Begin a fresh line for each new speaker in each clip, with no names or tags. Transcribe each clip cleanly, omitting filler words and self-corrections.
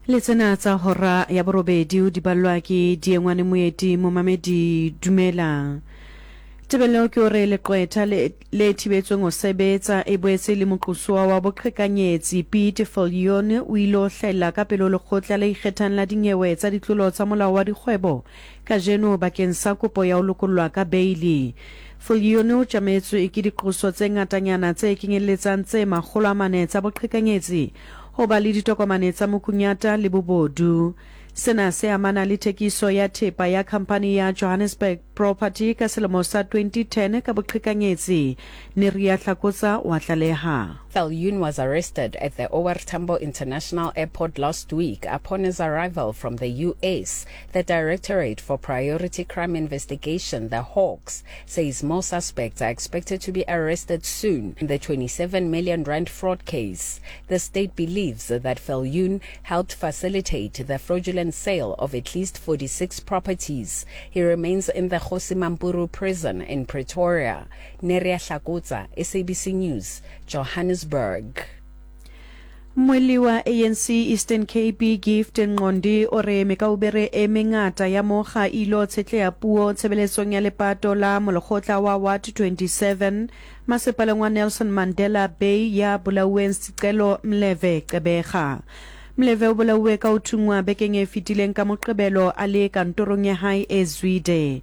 Le tsena tsa hora ya borobedi o di ballwa ke Diengwane Moeti. Momamedi, dumela. Tebello ke hore leqwetha le, le thibetsweng ho sebetsa e boetse e le moqosuwa wa boqhekanyetsi Piet Viljoen o ile ho hlahella ka pele ho lekgotla le ikgethang la dinyewe tsa ditlolo tsa molao wa dikgwebo kajeno bakeng sa kopo ya ho lokollwa ka beili. Viljoen o tjametswe ke diqoso tse ngatanyana tse kenyelletsang tse 400 tsa boqhekanyetsi, ho ba le ditokomane tsa mokunyata le bobodu. Sena se amana le thekiso ya thepa ya khamphani ya Johannesburg Property ka selemo sa 2010 ka boqhekanyetsi, Neria Hlakotsa wa tlaleha.
Viljoen was arrested at the OR Tambo International Airport last week upon his arrival from the US. The Directorate for Priority Crime Investigation, the Hawks, says more suspects are expected to be arrested soon in the 27 million rand fraud case. The state believes that Viljoen helped facilitate the fraudulent sale of at least 46 properties. He remains in the Kgosi Mampuru prison in Pretoria. Neria Hlakotsa, SABC News, Johannesburg.
Mmuelli wa ANC Eastern Cape Gift Nqondi o re mekaubere e mengata ya mokga e ilo tshetleha puo tshebeletsong ya lepato la molekgotla wa Ward 27 masepaleng wa Nelson Mandela Bay ya bolauweng Sicelo Mleve Gqeberha. Mleve o bolauwe ka ho thunngwa bekeng e fetileng ka Moqebelo a le kantorong ya hae e Zwide.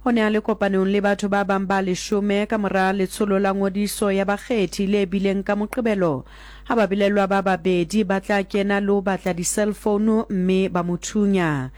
O ne a le kopanong le batho ba bang ba leshome ka mora letsholo la ngodiso ya bakgethi le bileng ka Moqebelo ha babelaellwa ba babedi ba tla kena le ho batla di-cellphone mme ba mo thunya.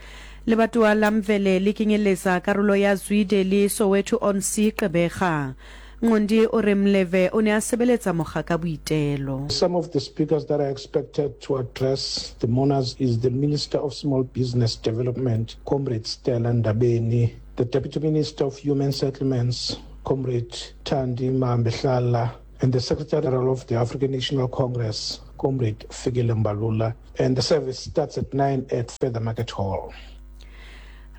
Lebatowa la Mvele le kenyelletsa karolo ya Zwide le Soweto-on-Sea Gqeberha. Nqondi o re Mleve o ne a sebeletsa mokga ka boitelo.
Some of the speakers that are expected to address the mourners is the Minister of Small Business Development, Comrade Stella Ndabeni, the Deputy Minister of Human Settlements, Comrade Thandi Mahambehlala, and the Secretary General of the African National Congress, Comrade Fikile Mbalula. And the service starts at 9 at Feather Market Hall.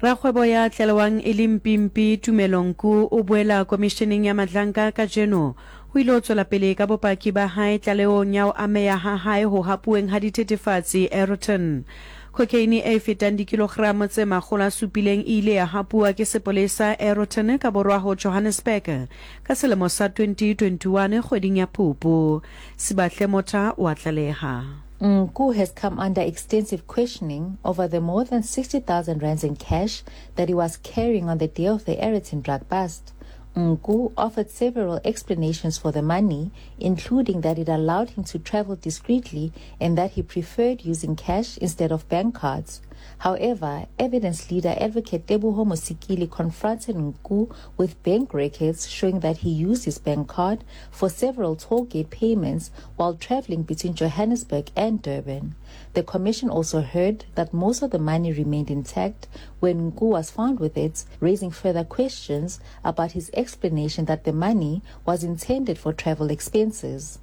Rakgwebo ya tlalewang e le mpimpi Tumelo Nku o boela komisheneng ya Madlanka kajeno. O ile ho tswela pele ka bopaki ba hae tlalehong ya ho ameha ha hae ho hapuweng ha dithethefatsi Aeroton. Cocaine e fetang dikilogramo tse 700 e ile ya hapuwa ke sepolesa Aeroton ka borwa ho Johannesburg ka selemo sa 2021 kgweding ya Phupu. Sibahle Motha o a tlaleha.
Nku has come under extensive questioning over the more than 60,000 rands in cash that he was carrying on the day of the Aeroton drug bust. Nku offered several explanations for the money, including that it allowed him to travel discreetly and that he preferred using cash instead of bank cards. However, evidence leader advocate Teboho Mosikili confronted Nku with bank records showing that he used his bank card for several toll gate payments while traveling between Johannesburg and Durban. The commission also heard that most of the money remained intact when Nku was found with it, raising further questions about his explanation that the money was intended for travel expenses.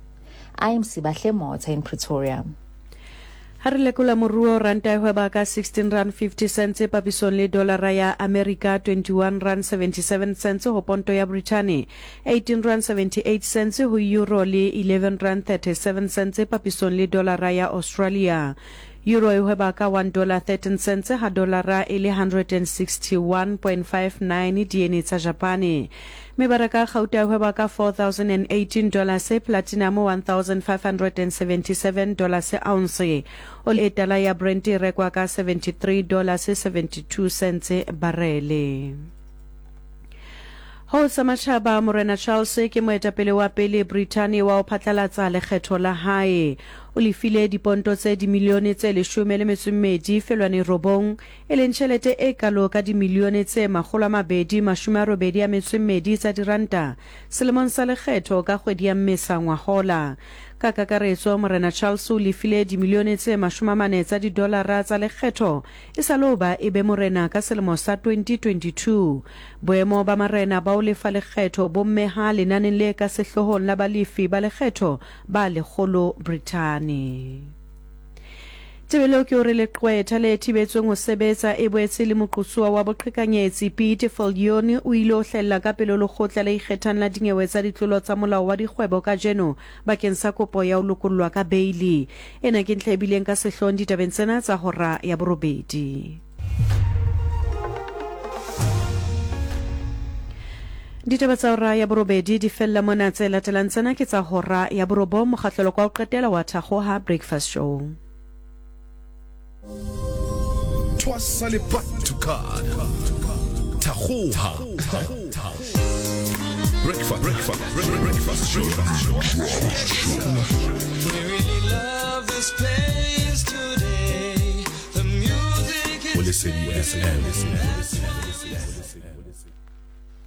I am Sibahle Motha in Pretoria.
Ha re lekola moruo, ranta e hweba ka 16 rand 50 cents papisong le dolara ya Amerika, 21 rand 77 cents ho ponto ya Brithani, 18 rand 78 cents ho euro le 11 rand 37 cents papisong le dolara ya Australia. Euro e hweba ka 1 dollar 13 cents ha dolara e le 161.59 diene tsa Japane. Mebaraka ya gauta e hweba ka 4,018 dollars, platinum 1,577 dollars ounce. Oli e tala ya Brent e rekwa ka 73 dollars 72 cents barele. Ho sa matjhaba, Morena Charles ke moetapele wa pele Brithani wa ho phatlalatsa lekgetho la hae. O lefile diponto tse dimilione tse leshome le metso e mmedi felwane robong, e leng tjhelete e kalo ka dimilione tse 282 tsa diranta selemong sa lekgetho ka kgwedi ya Mmesa ngwahola. Ka kakaretso, Morena Charles o lefile dimilione tse 40 tsa didolara tsa lekgetho e sa le ho ba e be morena ka selemo sa 2022. Boemo ba marena ba ho lefa lekgetho bo mmeha lenaneng le ka sehloohong la balefi ba lekgetho ba lekgolo Brithani. Tebello ke hore leqwetha le thibetsweng ho sebetsa e boetse e le moqosuwa wa boqhekanyetsi Piet Viljoen o ile o hlahella ka pele ho lekgotla le ikgethang la dinyewe tsa ditlolo tsa molao wa dikgwebo kajeno bakeng sa kopo ya ho lokollwa ka beili. Ena ke ntlha e bileng ka sehloohong ditabeng tsena tsa hora ya borobedi. Ditaba tsa hora ya borobedi di fella mona. Tse latelang tsena ke tsa hora ya borobong, mokgahlelo kwa ho qetela wa Thakgoha Breakfast Show.
Thwasa le Card. Thakgoha. Breakfast, breakfast, breakfast show.
We really love this place today. The music
Go
is
Lesedi FM.